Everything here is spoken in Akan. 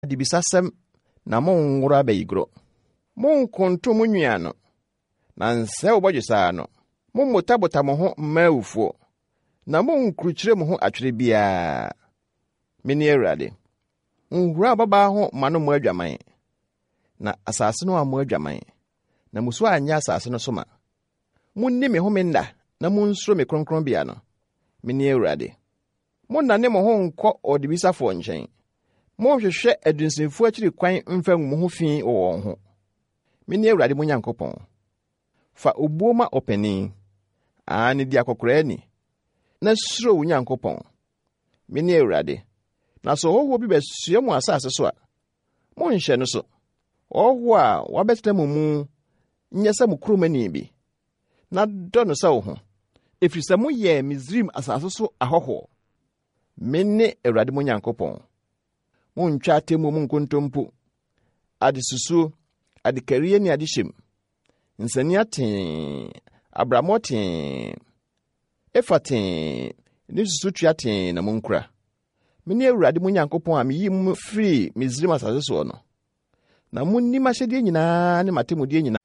Adebisasɛm na monnworo abayigoro. Monnkonto mo nwi ano, na nsɛe wo bɔdwesɛ ano. Mommotabota mo ho mma awufoɔ, na monnkurukyire mo ho atwerɛ biara. Mene Awurade. Nhura ababaa ho mma no mmɔ adwaman, na asase no ammɔ adwaman, na mmusuo anyɛ asase no so ma. Monni me home nna na munsuro me kronkronbea no. Mene Awurade. Monnane mo ho nnkɔ ɔdebisafoɔ nkyɛn. Monnhwehwɛ adunsinfoɔ akyiri kwan mfa ngu mo ho fi wɔ wɔn ho. Mene Awurade mo Nyankopɔn. Fa obuo ma ɔpanin, aane di akɔkoraa ni, na suro wo Nyankopɔn. Mene Awurade. Na sɛ ɔhɔhoɔ bi bɛsoɛ mo asase so a, monnhyɛ no so. Ɔhɔhoɔ a wabɛtena mo mu nyɛ sɛ mo kuromani bi, na dɔ no sɛ wo ho, ɛfiri sɛ moyɛɛ Misraim asase so ahɔhoɔ. Mene Awurade mo Nyankopɔn. Monntwa atemmuo mu nkontompo, adesusuo, adekarie ne adehyɛm, nsania tee, abrammɔ tee, efa tee, ne susutoa tee na monkura. Mene Awurade mo Nyankopɔn a meyii mo firii Misraim asase soɔ no. Na monni m'ahyɛdeɛ nyinaa ne m'atemmudeɛ nyinaa.